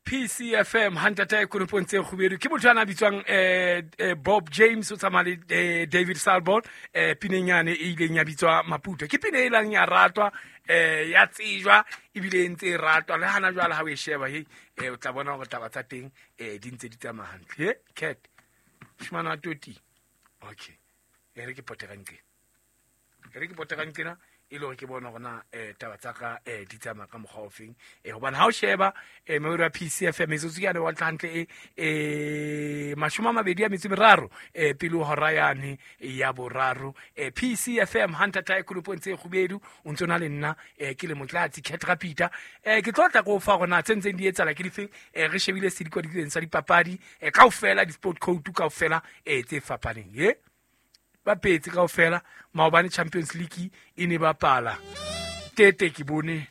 PCFM hantata e konopong tse kgubedu ke motho a na bitswang Bob James o tsamaya le David Salbon pineng yane e ileng ya bitswa Maputo. Ke pine e lang ya ratwa, ya tsejwa ebile e ntse e ratwa le hana jwale. Ha o e sheba, hei, o tla bona hore taba tsa teng di ntse di tsamaya hantle. He cat moshemane wa toti. Okay, e re ke pote ka nqena, e re ke pote ka nqena e le hore ke bone hore na taba tsa ka di tsamaya ka mokgwa ofeng, hobane ha o sheba meoro ya PCFM, metsotso ke yane wa hantle e 23 pele ho hora yane ya boraro. PCFM hantata e kolopong tse kgubedu, o ntse o na le nna ke le Motlatsi Cat Rapita. Ke tlo tla ko fa hore na tse ntseng di etsahala ke difeng. Re shebile sedikwadikeng sa dipapadi kaofela, di-sport code kaofela tse fapaneng ye bapetse kaofela. Maobane Champions League e ne bapala. Tete ke bone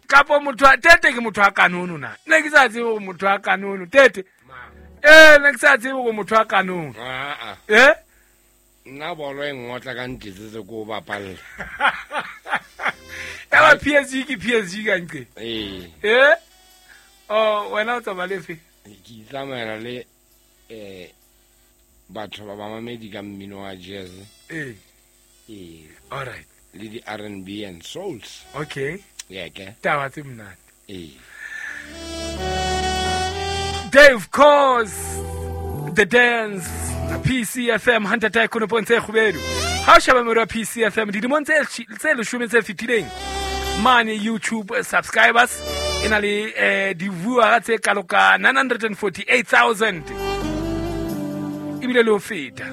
kapo motho a tete ke motho a kanono na ne ke sa tsebe gore motho a kanono tete, ne ke sa tsebe gore motho a kanono. Aa. Nna bolo e ngotla ka ntetsetse ko o bapalla. Ya ba PSG ke PSG ka nqe. Ee. Oh, wena o tsamaya lefe? Ke itsamaela le batho ba bamamedi ka mmino wa jazz. Ee. All right. Le di-R&B and souls. Okay. Yeke. Taba tse monate. Ee. Dave Cause The Dance, PCFM hantata e konopong tse kgubedu. Ha o sheba mero ya PCFM dilemong tse 10 tse fetileng mane YouTube subscribers e na le di-viewer tse kalo ka 948,000 ebile le ho feta.